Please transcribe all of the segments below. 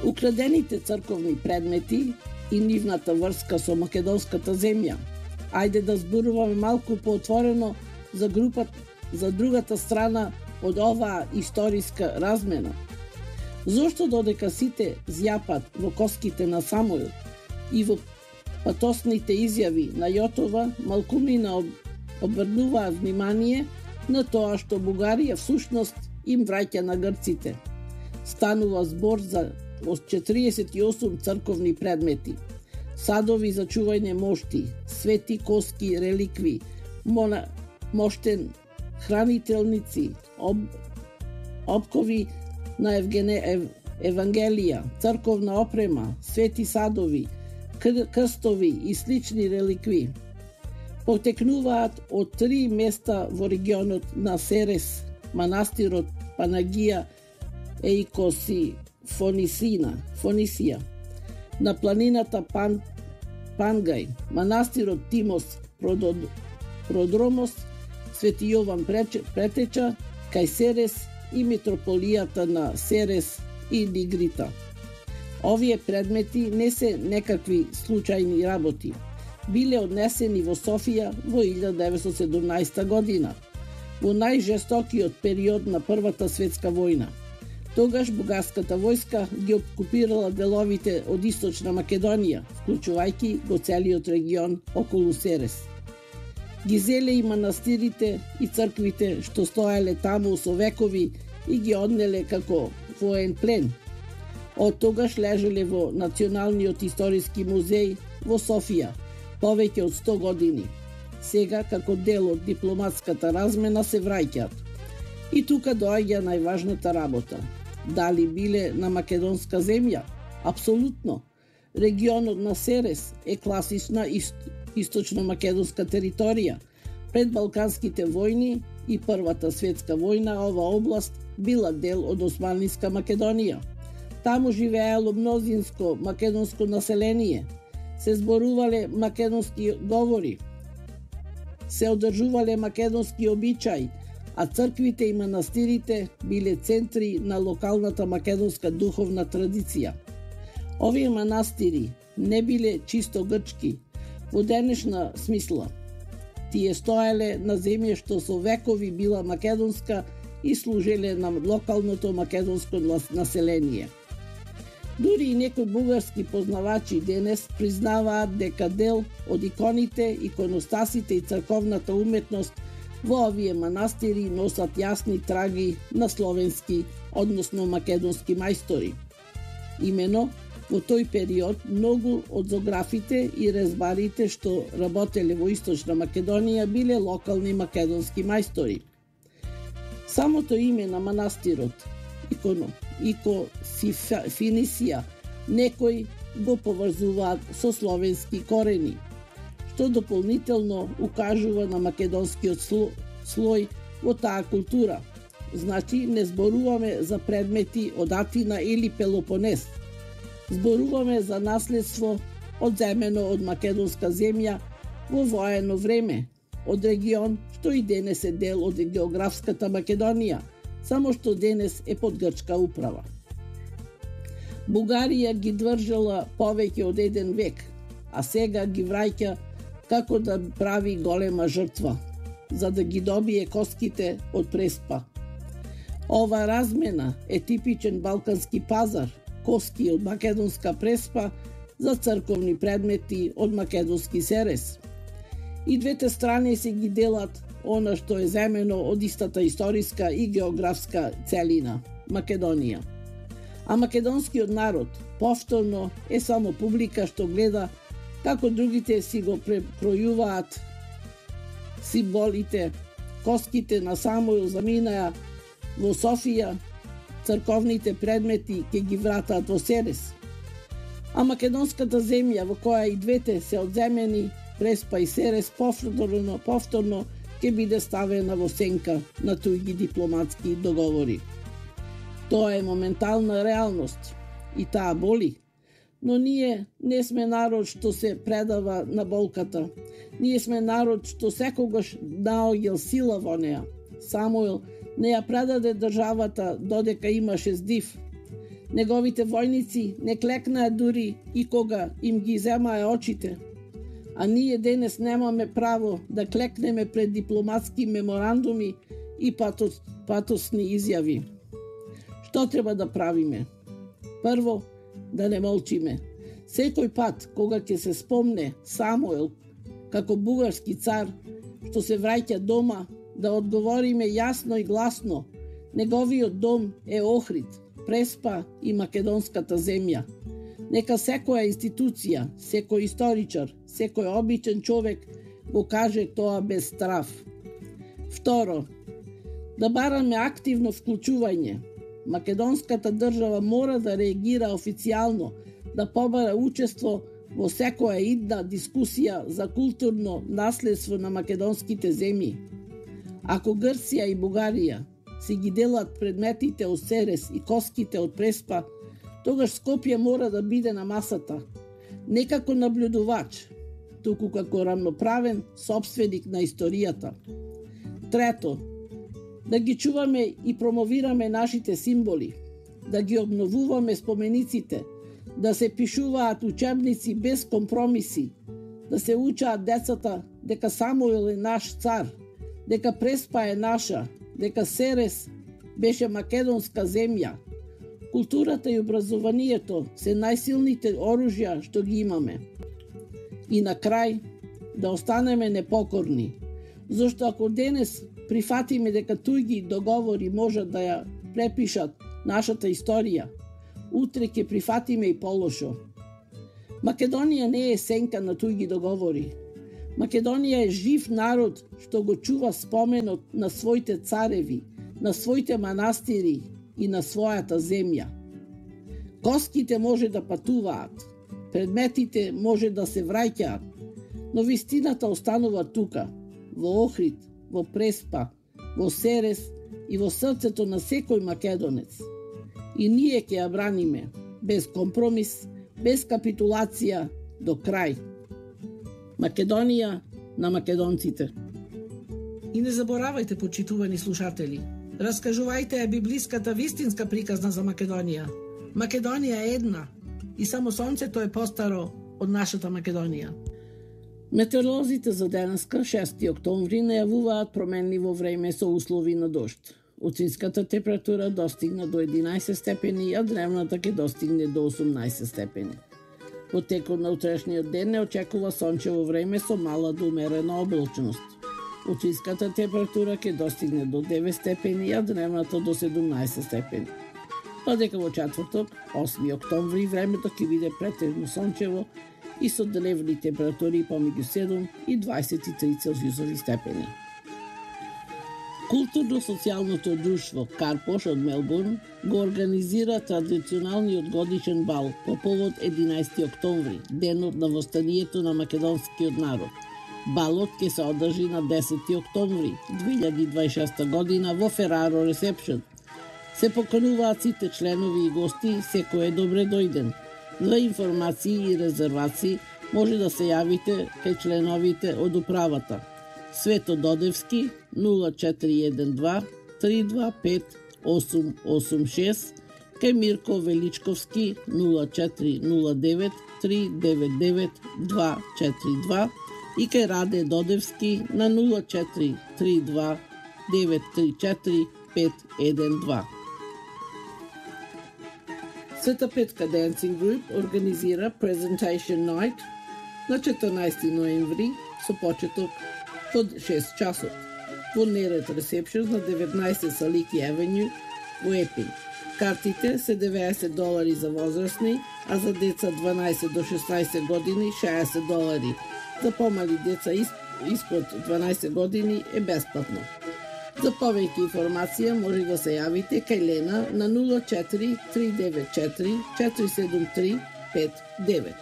Украдените црковни предмети и нивната врска со македонската земја. Ајде да зборуваме малку поотворено за другата страна од оваа историска размена. Зошто додека сите зјапат во коските на Самуил и во патосните изјави на Јотова, малкумина обрнуваат внимание на тоа што Бугарија всушност им враќа на грците. Станува збор за 48 црковни предмети, садови за чување мошти, свети коски, реликви, моштен хранителници, опкови на Евангелија, црковна опрема, свети садови, крстови и слични реликви. Потекнуваат од 3 места во регионот на Серес, манастирот Панагија Фонисија, на планината Пангај, манастирот Тимос Продромос, Свети Јован Претеча, кај Серес и митрополијата на Серес и Нигрита. Овие предмети не се некакви случајни работи. Биле однесени во Софија во 1917 година, во најжестокиот период на Првата светска војна. Тогаш бугарската војска ги окупирала деловите од Источна Македонија, вклучувајќи го целиот регион околу Серес. Ги зеле и манастирите и црквите што стоеле таму со векови и ги однеле како воен плен. Од тогаш лежеле во Националниот историски музеј во Софија повеќе од 100 години. Сега, како дел од дипломатската размена, се враќаат. И тука доаѓа најважната работа. Дали биле на македонска земја? Апсолутно. Регионот на Серес е класична источно-македонска територија. Пред Балканските војни и Првата светска војна ова област била дел од Османлиска Македонија. Таму живеело мнозинско македонско население, се зборувале македонски говори, се одржувале македонски обичаи, а црквите и манастирите биле центри на локалната македонска духовна традиција. Овие манастири не биле чисто грчки, во денешна смисла. Тие стоеле на земја што со векови била македонска и служеле на локалното македонско население. Дури и некои бугарски познавачи денес признаваат дека дел од иконите, иконостасите и црковната уметност во овие манастири носат јасни траги на словенски, односно македонски мајстори. Имено, во тој период многу од зографите и резбарите што работеле во Источна Македонија биле локални македонски мајстори. Самото име на манастирот, Финисија, некои го поврзуваат со словенски корени, што дополнително укажува на македонскиот слој во таа култура. Значи, не зборуваме за предмети од Атина или Пелопонес. Зборуваме за наследство одземено од македонска земја во воено време, од регион што и денес е дел од географската Македонија, само што денес е под грчка управа. Бугарија ги држала повеќе од 1 век, а сега ги враќа како да прави голема жртва, за да ги добие коските од Преспа. Ова размена е типичен балкански пазар, коски од македонска Преспа за црковни предмети од македонски Серес. И двете страни се ги делат она што е земено од истата историска и географска целина – Македонија. А македонскиот народ повторно е само публика што гледа како другите си го прекројуваат символите, коските на Самуил заминаа во Софија, црковните предмети ќе ги вратаат во Серес. А македонската земја во која и двете се одземени, Преспа и Серес, повторно ќе биде ставена во сенка на туѓи дипломатски договори. Тоа е моментална реалност и таа боли, но ние не сме народ што се предава на болката. Ние сме народ што секогаш наоѓал сила во неа. Самуил не ја предаде државата додека имаше здив. Неговите војници не клекнаа дури и кога им ги земаа очите. А ние денес немаме право да клекнеме пред дипломатски меморандуми и патосни изјави. Што треба да правиме? Прво, да не молчиме. Секој пат кога ќе се спомне Самуел како бугарски цар што се враќа дома, да одговориме јасно и гласно: неговиот дом е Охрид, Преспа и македонската земја. Нека секоја институција, секој историчар, секој обичен човек го каже тоа без страв. Второ, да бараме активно вклучување. Македонската држава мора да реагира официјално, да побара учество во секоја идна дискусија за културно наследство на македонските земји. Ако Грција и Бугарија си ги делат предметите од Серес и коските од Преспа, тогаш Скопје мора да биде на масата, не како наблюдувач, туку како рамноправен сопственик на историјата. Трето, да ги чуваме и промовираме нашите символи, да ги обновуваме спомениците, да се пишуваат учебници без компромиси, да се учаат децата дека Самуил е наш цар, дека Преспа е наша, дека Серес беше македонска земја. Културата и образованието се најсилните оружја што ги имаме. И на крај, да останеме непокорни, зашто ако денес прифатиме дека туѓи договори можат да ја препишат нашата историја, утре ќе прифатиме и полошо. Македонија не е сенка на туѓи договори. Македонија е жив народ што го чува споменот на своите цареви, на своите манастири и на својата земја. Коските може да патуваат, предметите може да се враќаат, но вистината останува тука, во Охрид, во Преспа, во Серес и во срцето на секој македонец. И ние ќе ја браниме, без компромис, без капитулација, до крај. Македонија на македонците. И не заборавајте, почитувани слушатели, раскажувајте ја библиската вистинска приказна за Македонија. Македонија е една и само сонцето е постаро од нашата Македонија. Метеоролозите за денеска, 6 октомври, најавуваат промени во време со услови на дожд. Утинската температура достигна до 11 степени, а дневната ќе достигне до 18 степени. Во текот на утрешниот ден не очекува сончево време со мала до умерена облачност. Утинската температура ќе достигне до 9 степени, а дневната до 17 степени. Додека во четврток, 8 октомври, времето ќе биде претежно сончево и со дневни температури помеѓу 7 и 23 целзиусови степени. Културно-социјалното друштво Карпош од Мелбурн го организира традиционалниот годишен бал по повод 11 октомври, денот на востанието на македонскиот народ. Балот ќе се одржи на 10 октомври 2026 година во Фераро Ресепшн. Се покануваат сите членови и гости, секој е добре дојден. За информации и резервации може да се јавите кај членовите од управата. Свето Додевски 0412 325 886, кај Мирко Величковски 0409 399 242 и кај Раде Додевски на 0432 934 512. Света Петка Dancing Group организира Presentation Night на 14 ноември со почеток од 6 часот во Нерет Ресепшн на 19 Салики Авеню во Епин. Картите се $90 за возрастни, а за деца 12 до 16 години $60. За помали деца испод 12 години е бесплатно. За повеќе информација може да се јавите кај Лена на 04 394 473 59.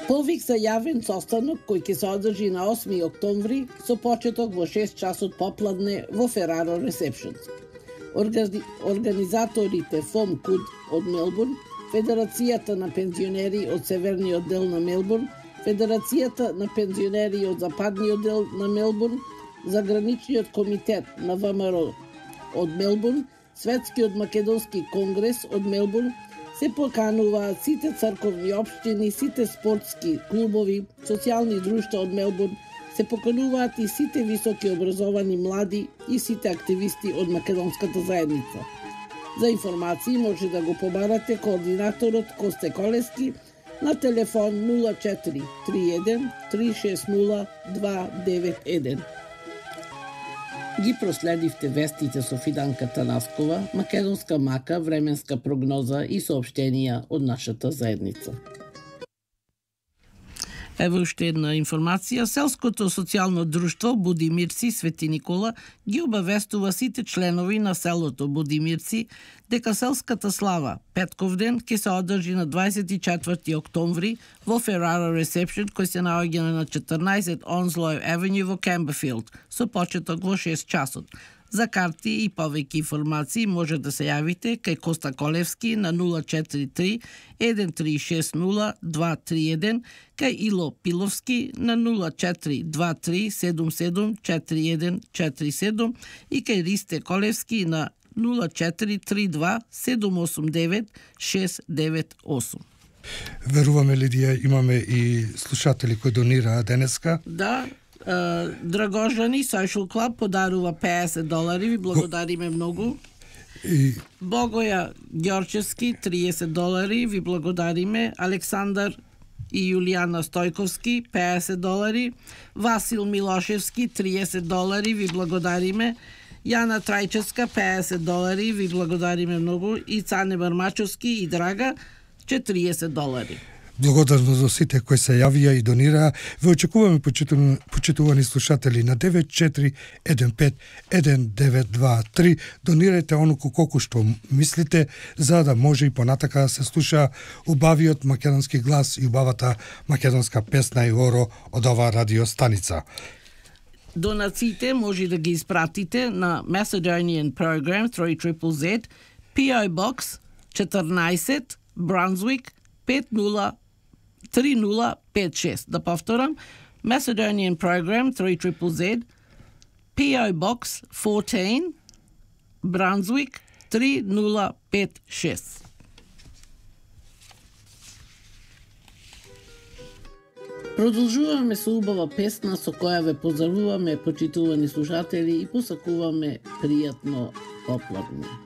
Повик за јавен состанок кој ќе се одржи на 8 октомври со почеток во 6 часот попладне во Фераро Ресепшн. Организаторите ФОМ КУД од Мелбурн, Федерацијата на пензионери од Северниот дел на Мелбурн, Федерацијата на пензионери од Западниот дел на Мелбурн, Заграничниот комитет на ВМРО од Мелбурн Светскиот македонски конгрес од Мелбурн се покануваат сите црковни општини, сите спортски клубови, социјални друштва од Мелбурн, се покануваат и сите високи образовани млади и сите активисти од македонската заедница. За информации може да го побарате координаторот Косте Колевски на телефон 0431 360 291. Ги проследивте вестите со Фиданка Танаскова, македонска мака, временска прогноза и соопштенија од нашата заедница. Ево уште една информација. Селското социјално друштво Будимирци Свети Никола ги обавестува сите членови на селото Будимирци дека селската слава Петковден ќе се одржи на 24 октомври во Ferrara Reception, кој се наоѓа на 14 Onslow Avenue во Камберфилд, со почеток во 6 часот. За карти и повеќе информации може да се јавите кај Коста Колевски на 043 1360 231, кај Ило Пиловски на 0423 77 4147 и кај Ристе Колевски на 0432 789 698. Веруваме, Лидија, имаме и слушатели кои донираа денеска. Да, Драгожани Social Club подарува $50. Ви благодариме многу. Богоја Ѓорчевски $30. Ви благодариме. Александар и Јулијана Стојковски $50. Васил Милошевски $30. Ви благодариме. Јана Трајчевска $50. Ви благодариме многу. И Цане Бармачовски и Драга $40. Благодарно за сите кои се јавија и донираа. Ве очекуваме, почитувани слушатели, на 94151923. Донирајте онуку колку што мислите, за да може и понатака да се слуша убавиот македонски глас и убавата македонска песна и оро од оваа радиостаница. Донациите може да ги испратите на Macedonian Program 3ZZZ, PO Box 14, Brunswick 3056. Да повторам, Macedonian Program 3ZZZ, PO Box 14, Brunswick 3056. Продолжуваме со убава песна со која ве поздравуваме, почитувани слушатели, и посакуваме пријатно попладне.